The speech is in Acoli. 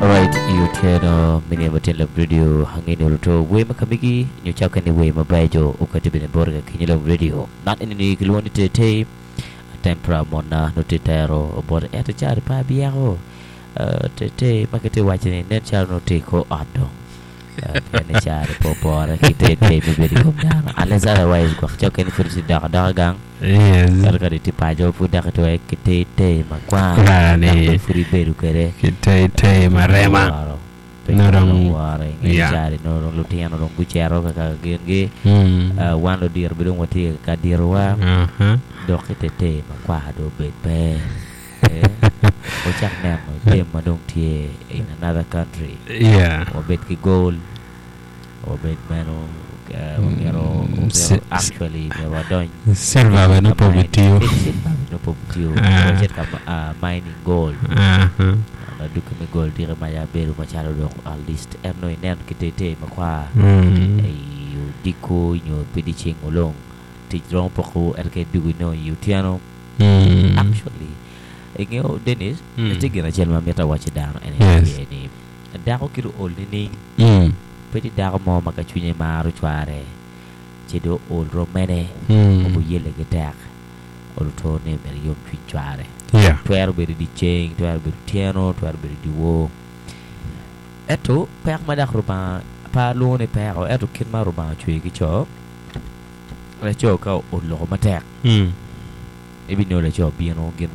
Alright, i otyeno me nino matin Lub Radio ange ni oluto wer ma kamigi nyo cakke ni wer mabeco okati bene boti ka kinyi Lub Radio. Man eni ni kilwongo ni Tetei Tempra monna nongo tye tero bote ento cari pe abyeko Tetei ma kitye waco ni nen calo nongo tye i kor ot dong pien ni cari pe opore ki Tetei me bedo i kom dano unless otherwise gwok cakke ni pud itye dok adoka gang. Yes. Ento ka itye paco pud dok itwero ki teitei makwar Kara dok ni bene pud ibedo kwede. ki teitei marema. Woro. Pe Nongo calo dong dong woro i nge yeah. cari nongo dong lutino dong gucito kaka gingi. Mm. Uh, wan ludito bene dong watye ka ditowa Uh-huh. dok ki teitei makwar dong obed pe. Eh, wucak neno jami ma dong tye in another country. Yeah. Wabed ki gold. Wabed meno myero actually myero wadony Silver bene pe obitiyo. Silver bene pe obitiyo. Wacit ka mining gold. Aduki me gold tike ma ya bedo macalo dong at least en nongo ineno ki teitei makwar i odiko nyo pi dyeceng olong tic romo poko ento ka idwogo inongo i otyeno. Actually ingeyo Dennis tye gin acel ma amito awac ki dano en aye ni Dako kit ool nining? Pe tye dako mo ma ka cwinye maro cware ci dong ool rom mene obiyelle ki tek oluto ni myero eyom cwiny cware. Twero bedo dyeceng, twero bedo otyeno, twero bedo dyewor. Ento peko ma dok Rubanga pe alwongo ni peko ento kit ma Rubanga ocweyo ki co, laco ka oloko matek ibinongo laco bino gin.